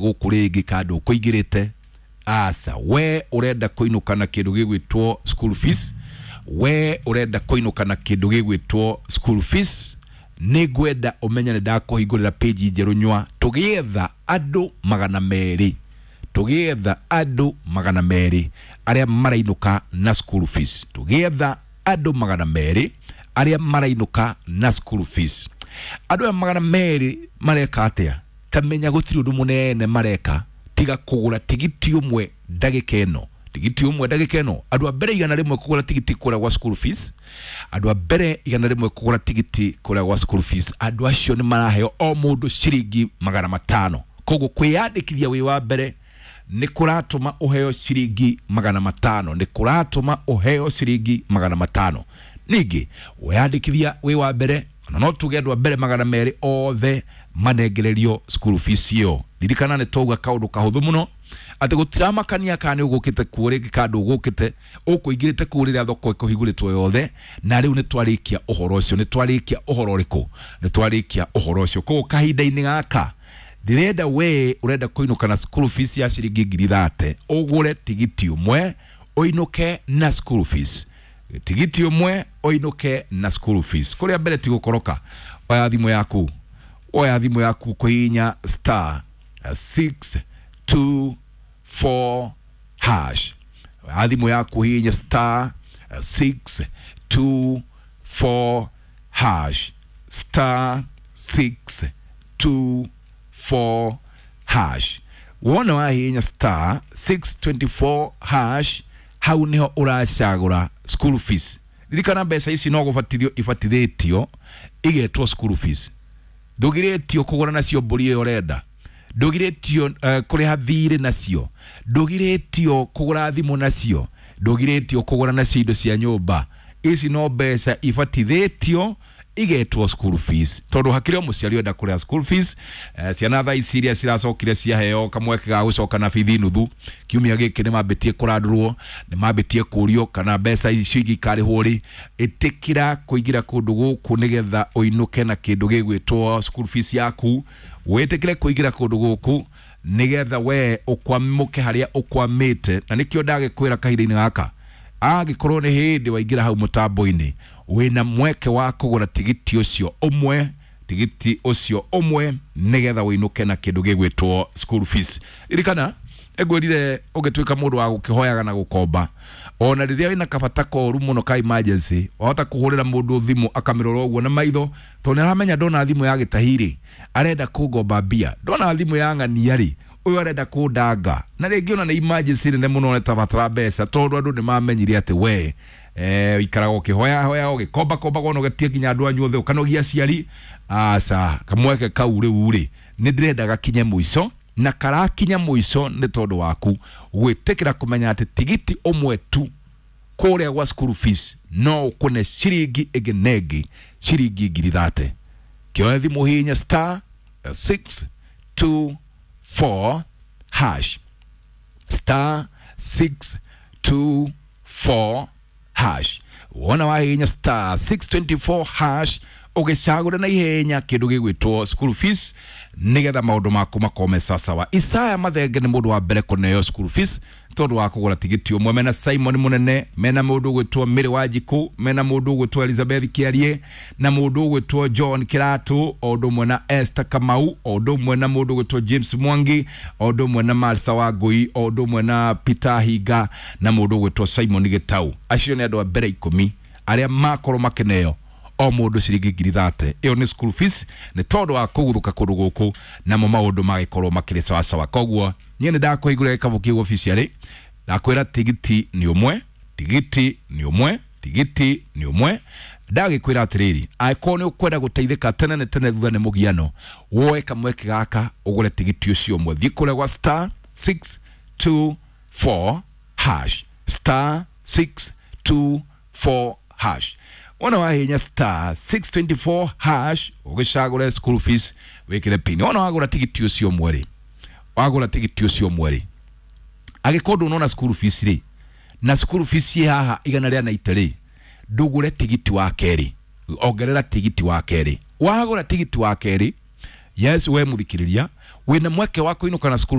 Gũkũ rĩngĩ kandũ kũingĩrĩte aca, we ũrenda kũinũka na kĩndũ gĩgwĩtwo school fees, we ũrenda kũinũka na kĩndũ gĩgwĩtwo school fees, nĩ ngwenda ũmenye nĩ ndakũhingũrĩra page njerũ nywa, tũgĩetha andũ 200, tũgĩetha andũ 200 arĩa marainũka na school fees, tũgĩetha andũ 200 arĩa marainũka na school fees. Andũ aya 200 mareka atĩa? Tamenya gũtirĩ ũndũ mũnene mareka tiga kũgũra tigiti ũmwe ndagĩka ĩno, tigiti ũmwe ndagĩka ĩno. Andũ a mbere 100 kũgũra tigiti kũrĩa gwa school fees, andũ a mbere 100 kũgũra tigiti kũrĩa gwa school fees, andũ acio nĩ maraheo o mũndũ ciringi 500. Koguo kwĩyandĩkithia wĩ wa mbere nĩ kũratũma ũheo ciringi 500, nĩ kũratũma ũheo ciringi 500. Ningĩ weyandĩkithia wĩ wa mbere, na no tuge andũ a mbere 200 othe manengererio school fees ĩyo. Ririkana nĩ twauga kaũndũ kahũthũ mũno atĩ gũtiramakania kana nĩ ũgũkĩte kuo rĩngĩ kana ndũgũkĩte, ũkũingĩrĩte kũu rĩrĩa thoko ĩkũhingũrĩtwo yothe. Na rĩu nĩ twarĩkia ũhoro ũcio. Nĩ twarĩkia ũhoro ũrĩkũ? Nĩ twarĩkia ũhoro ũcio. Koguo kahinda-inĩ gaka ndĩrenda we ũrenda kũinũka na school fees ya ciringi 30,000, ũgũre tigiti ũmwe ũinũke na school fees, tigiti ũmwe ũinũke na school fees. Kũrĩa mbere ti gũkoroka. Oya thimũ yaku, oya thimũ yaku, kũhihinya star 624 hash. Oya thimũ yaku, hihinya star 624 hash, star 624 hash. Wona wahihinya star 624 hash, hau niho ũracagũra school fees. Ririkana mbeca ici no gũbatithio ibatithĩtio igetwo school fees. Ndũgirĩtio kũgũra nacio mbũri ĩyo ũrenda, ndũgirĩtio kũrĩha thirĩ nacio, ndũgirĩtio kũgũra thimũ nacio, ndũgirĩtio kũgũra nacio indo cia nyũmba. Ici no mbeca ibatithĩtio igetwo school fees, tondũ hakĩrĩ o mũciari ũrenda kũrĩha school fees. Ciana thaa ici iria ciracokire ciaheo kamweke ga gũcoka na bithi nuthu kiumia gĩkĩ, nĩ mambĩtie kũrandũrwo, nĩ mambĩtie kũrio kana mbeca icio ingĩ ikarĩhwo rĩ. Ĩtĩkĩra kũingĩra kũndũ gũkũ nĩgetha ũinũke na kĩndũ gĩgwĩtwo school fees yaku. Wĩtĩkĩre kũingĩra kũndũ gũkũ nĩgetha we ũkwamũke harĩa ũkwamĩte. Na nĩkĩo ndagĩkwĩra kahinda-inĩ gaka, angĩkorwo nĩ hĩndĩ waingĩra hau mũtambo-inĩ, wĩna mweke wa kũgũra tigiti ũcio ũmwe, tigiti ũcio ũmwe, nĩgetha ũinũke na kĩndũ gĩgwĩtwo school fees. Ririkana ĩngwĩrire ũngĩtuĩka mũndũ wa gũkĩhoyaga na gũkomba, ona rĩrĩa wĩna kabata koru mũno ka emergency, wahota kũhũrĩra mũndũ thimũ akamĩrora ũguo na maitho, tondũ nĩ aramenya ndona thimũ ya gĩtahi rĩ, arenda kũngomba mbia, ndona thimũ ya ng'ania rĩ, ũyũ arenda kũndanga. Na rĩngĩ ona nĩ emergency nene mũno nĩtabatara mbeca, tondũ andũ nĩ mamenyire atĩ we ikaraga ũkĩhoya hoya, ũgĩkomba komba, ũnogetie nginya andũ anyu othe, ũkanogia aciari. Aca, kamweke kau rĩu rĩ, nĩ ndĩrenda gakinye mũico, na karakinya mũico nĩ tondũ waku gwĩtĩkĩra kũmenya atĩ tigiti ũmwe tu kũrĩa gwa school fees no ũkũne ciringi ĩngĩ na ĩngĩ ciringi 30,000. Kĩoe thimũ, hihinya star 624 hash, star 624 hash. Wona wahihinya star 624 hash, ũgĩcagũre na ihenya kĩndũ gĩgwĩtwo school fees nĩgetha maũndũ maku makome sasawa. Isaya Mathenge nĩ mũndũ wa mbere kũneo school fees tondũ wa kũgũra tigiti ũmwe. Mena Simon Mũnene, mena mũndũ ũgwĩtwo Mary Wanjikũ, mena mũndũ ũgwĩtwo Elizabeth Kĩarie, na mũndũ ũgwĩtwo John Kĩratũ, o ũndũ ũmwe na Esther Kamau, o ũndũ ũmwe na mũndũ ũgwĩtwo James Mwangi, o ũndũ ũmwe na Martha Wangui, o ũndũ ũmwe na Peter Hinga, na mũndũ ũgwĩtwo Simon Gĩtau. Acio nĩ andũ a mbere 10 arĩa makorwo makĩneo o mũndũ ciringi 30,000. Ĩyo nĩ school fees nĩ tondũ wa kũguthũka kũndũ gũkũ, namo maũndũ magĩkorwo makĩrĩ sawasawa. Koguo niĩ nĩ ndakũhingũrĩra gĩkabũ kĩu officially, ndakwĩra tigiti nĩ ũmwe, tigiti nĩ ũmwe, tigiti nĩ ũmwe. Ndagĩkwĩra atĩrĩrĩ, angĩkorwo nĩ ũkwenda gũteithĩka tene nĩ tene thutha nĩ mũgiano, woe kamweke gaka ũgũre tigiti ũcio ũmwe. Thiĩ kũrĩa gwa star 624 hash, star 624 hash. Wona wahinya star 624 hash, ũgĩcagũre school fees, wĩkĩre pin. Wona wagũra tigiti ũcio ũmwe rĩ, wagũra tigiti ũcio ũmwe rĩ, angĩkorwo ndũnona school fees rĩ, na school fees ĩ haha 190 rĩ, ndũgũre tigiti wa kerĩ, ongerera tigiti wa kerĩ. Wagũra tigiti wa kerĩ, yes, we mũthikĩrĩria. Wina mweke wa kuinuka na school.